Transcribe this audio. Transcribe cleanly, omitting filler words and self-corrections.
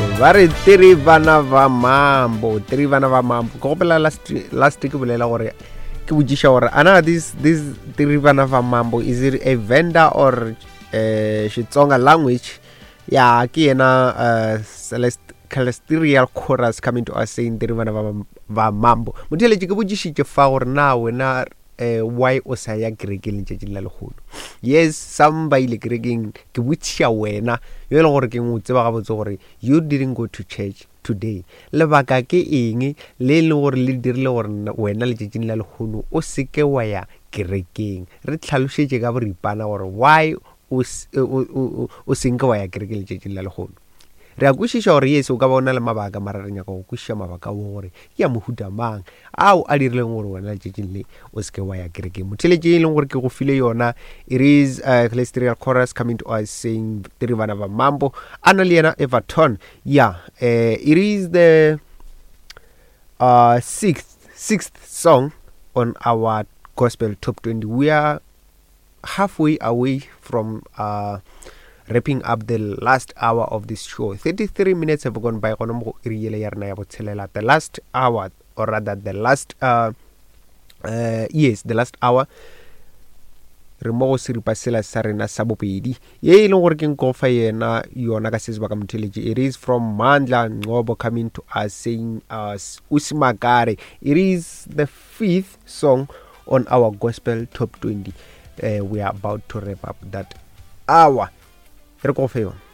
Ba re tiri bana ba mambo, tiri bana ba mambo. Ke gopela last last ke bolela gore ke botšiša gore ana this this tiri bana ba mambo is it a vendor or uh, Xitsonga language? Ya ke yena uh, Celeste Celestial Chorus coming to us saying tiri bana ba ba mambo. Motheletše ke botšišitše fa gore na wena eh, why o sa ya kerekeng letšatšing la lekgono yes some ba ile kerekeng ke botšiša wena yo e leng gore ke o tseba gabotse gore you didn't go to church today lebaka ke eng le e leng gore le dirile gore wena letšatšing la lekgono o seke wa ya kerekeng re tlhalošetše ka boripana gore why o, o, o, o senke wa ya kerekeng letšatšing la lekgono Re a kwešiša gore yes o ka ba o na le mabaka mara re nyaka go kwešiša mabaka ao gore ke a mohuta mang ao a dirileng gore wena letšatšing le o seke wa ya kerekeng. Motheletše e leng gore ke go file yona it is uh, Celestial Chorus coming to us saying tiri bana ba mambo a na le yena Everton yeah uh, it is the uh, sixth sixth song on our gospel top 20 we are halfway away from uh, wrapping up the last hour of this show 33 minutes have gone by gona mo go iri yele ya rena ya botshelela the last hour or rather the last uh, uh, yes the last hour re mo go seripa sela sa rena sa bobedi ye e leng gore ke nkofa yena yona ka se sebaka motheletše it is from mandla ncobo coming to us saying uh, usimakare it is the fifth song on our gospel top 20 uh, we are about to wrap up that hour re ko fe yona.